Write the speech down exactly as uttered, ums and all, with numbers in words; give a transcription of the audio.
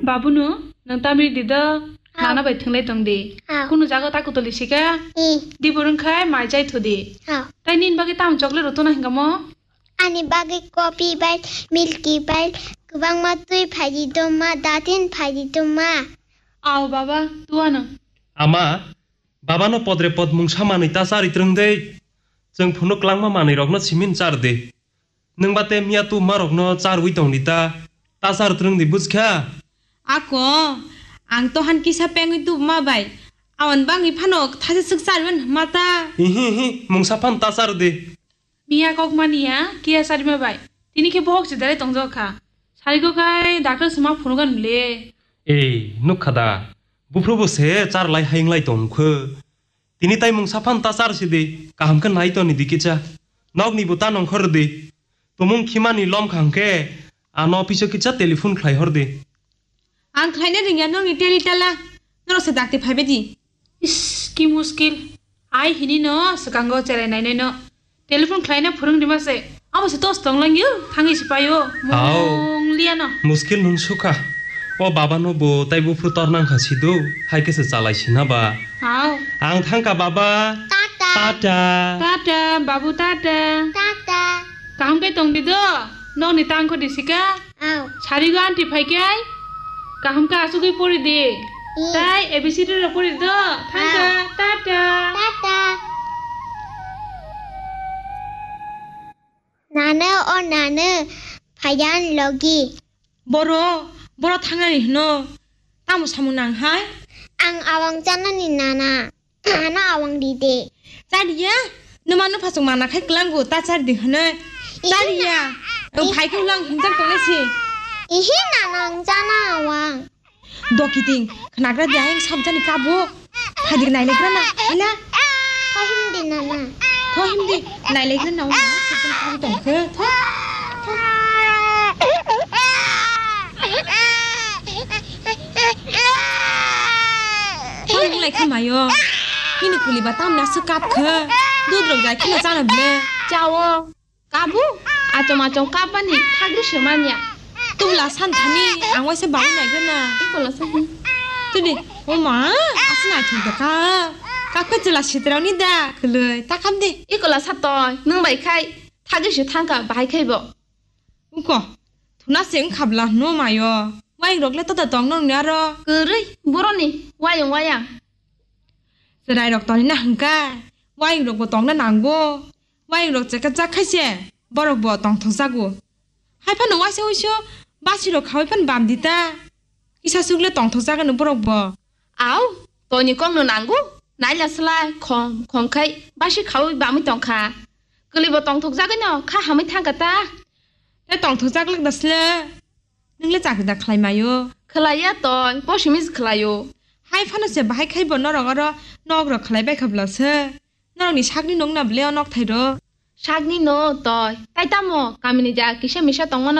Babunu, nwng tamri di do, ah, nana bai thwnglai tong di. Ah. Kunu jaga ta kutuli sika. Eh. Di burung khai mai chai thu di. Ah. Tai nini bagwi tamo chocolate rw tona hinga mo? Ani bagwi coffee bai, milky bai, kwbangma twi phai di do ma, datin phai di do ma. Ao baba, tuano. Ama, babano podre pod mungsa manwi ta chari twrwng de. Chwng phunuk klangma manwi rokno simin char de. Nwng ba te miya tu ma rokno charwi tong di ta. Ta char twrwng di bujkha. Ako, ang to han kisa pengwi tu ma bai. Awan bangwi phano thasa swk charwi man ma ta. Ihi, ihi, mungsa phan ta char de. Miya kok mania, kiya sarima bai. Tini khe bohok se dare tong jok kha. Sari ko kai doctor se ma phunu gan le. Ei, nuk kha da. Buphru bo se char lai hayung lai tong kho. Tini tai mungsa phan ta char si di. Kaham khe nai to ni di kicha. Nok ni bo ta nong khor di. Tumung khimani lom kha hwnkhe ano office o kicha telephone khlai hor di. Ang khlaina rwngya nokni teli tala. Norok se dakti phaibai di. Is, ki muskil. Ai hini no swkango cherai nainai no. Telephone khlaina phwrwng rima se. Abo se tos tong langyo. Thangwi se paio. Hao. Mung liya no. Muskil nung sukha. O baba no bo tai buphru tor nang kha sidu. Hai khe se chalai sina ba. Hao. Ang thangka baba. Tata. Tata. Tata, babu tata. Tata. Kaham khe tong di do. Nokni tang kho di sika. Aw. Sarigo aunty phai khe ai. Kaham khe asugwi pori di. I. Tai A B C D rok pori do. Thangka. Aw. Tata. Tata. Nana o nana, phaidan logi. Boro, boro thangnani hino. Tamo samung nang hai? Ang awang chanani nana. Ano awang di de. Chariya, numa no phasok mana khai klango ta chari di hwnwi. Ihi. Chariya, na-, ang phai khe ulang hinjak tongnai si. Ihi nana ang chana awang. Dokiting, khnagra di ayang sabjani kabo. Phai di nai lekra na, ila. Tho him di nana. Tho him di, nai lekra na, sabjani kabo tong khe. Tho. Tho nung lai kha mayo. Nini kuli ba tamna se kap khe. Dudrok jai kheno chana ble. Chao. Kabu. Achom achom kap bani thagri se manya. Tubla san thani ang waisa babu nai gana. Ikola sa hi. Tudi. O ma. Asna chum to ka. Ka khe chula sitrao ni da. Khuloi. Ta kam de. Ikola sa toi. Nung bai khai. Thagri se thangka bahai khai bo. Uko, thuna se wngkha bla hwnwi mayo. Wayang rok le tota tong nang ni aro. Kwrwi, boroni wayang wayang. Chwrai rok toni na hwnkha, wayang rok bo tong na nango. Wayang rok chekha jak khai se, borok bo tong thok jago. Hai phano waisa waisa basi rok khawi phano bam di ta. Kisa swk le tong thok jago no borok bo. Au, toni kok no nango. Naila slai, khom, khom khai, basi khawi bamwi tong kha. Kwlwi bo tongthok jagwi no kha hamwi thangkha ta. Le tongthok jak lak da sle. Nung le chakri da khlai mayo. Khlaiya toi, posimij khlaio. Hai phano se bahai khai bo norok oro nok rok khlai bai kha bwla se. Norok ni sakni nung na ble o nok thai ro. Sakni no toi, tai tamo kamini ja kisa misa tongmano.